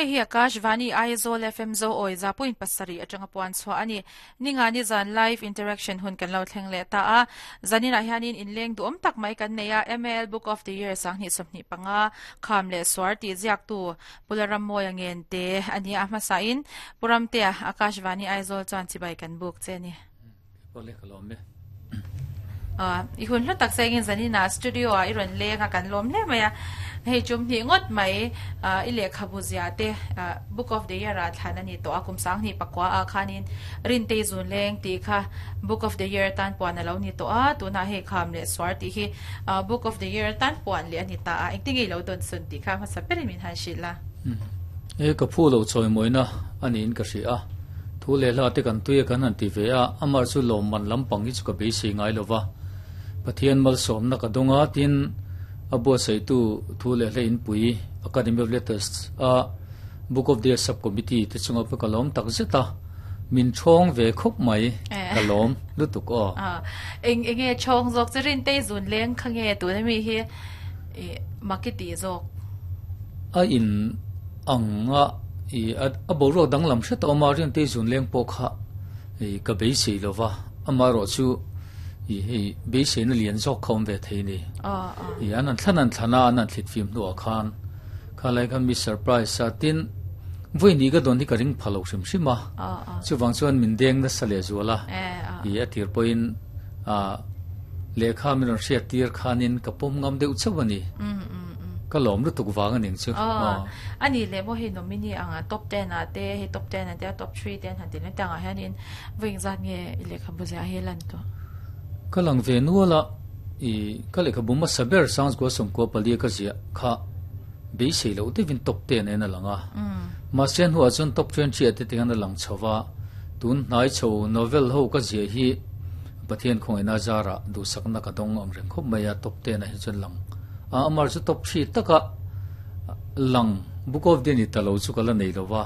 Hei hi Akashvani Aizawl FM Zo Awi 7.7 atanga puan chhuah a ni. Ninga ni zan live interaction hun kan lo thleng leh ta a. Zaninah hianin inleng duhawm tak mai kan nei a, MAL Book of the Year 2025 kham leh suar tih ziaktu Pu Laramawia Ngente a ni a. A hmasain Pu Ramtea Akashvani Aizawl chuan chibai kan buk che a ni. I hun hlu tak sengin zaninah studio ah i rawn leng a kan lawm hle mai a, hei chum hnih ngawt mai i lehkhabu ziah te book of the year ah thlan a ni tawh a, kum 2009 ah khanin Rintei zun leng tih kha book of the year atan puan a lo ni tawh a, tunah hei kham leh suar tih hi book of the year atan puan leh a ni ta a, engtin nge i lo dawn sun tih kha hmasa berin min han hrilh a. He ka phu lo chawimawina a niin ka hria a. Thu leh hla te kan tui a kan han ti ve a, amah chu lawmman lampang hi chu ka beisei ngai lo va. Pathian malsawmna ka dawng a, tin a buatsaihtu thu leh hla inpui Academy of Letters a Book of the Year Sub-Committee te chunga pawh ka lawm tak zet a, min ṭhawng ve khawp mai, ka lawm lutuk aw. Eng enge ṭhawng zawk chu Rintei zun leng kha nge tuna mi hi i mak i tih zawk? A in ang a i a boruak danglam hret a awm a, Riantei zun leng pawh kha i ka beisei lo va, amaherawh chu i hei beiseina lian zawk kha awm ve thei a ni. I an han thlan an thlan a, an han thlit fim hnuah khan kha lai khan mi surprise a, tin vawi hnih ka dawn hi ka ring pha lo hrim hrim a, chuvang chuan min deng nasa leh zual a, i a tir pawhin a lehkha min rawn hriat tir khanin ka pawm ngam deuh chauh a ni. Ka lawm lutuk vang a ning chu. Aw. A nih leh maw hei nominee anga top ten ah te hei top ten ah te top three te an han ti leh tang ah hianin vawi engzat nge i lehkhabu ziah hi lan tawh? Ka lang ve nual a, i ka lehkhabu hmasa ber Sangzgua sawmkua palia ka ziah kha beisei loh deuhin top ten en a lang a. Mahse a hnuah chuan top 20 ah te tikhan a lang chho va, tun hnai chho novel ho ka ziah hi Pathian khawngaihna zarah duhsakna ka dawng ang reng khawp mai a, top ten ah hi chuan lang a, amar chu top 3 taka lang book of the ni ta lo chu ka la nei lo va,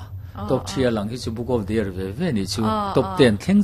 top 3 a lang hi chu book of the year ve ve ni chu top 10 thleng.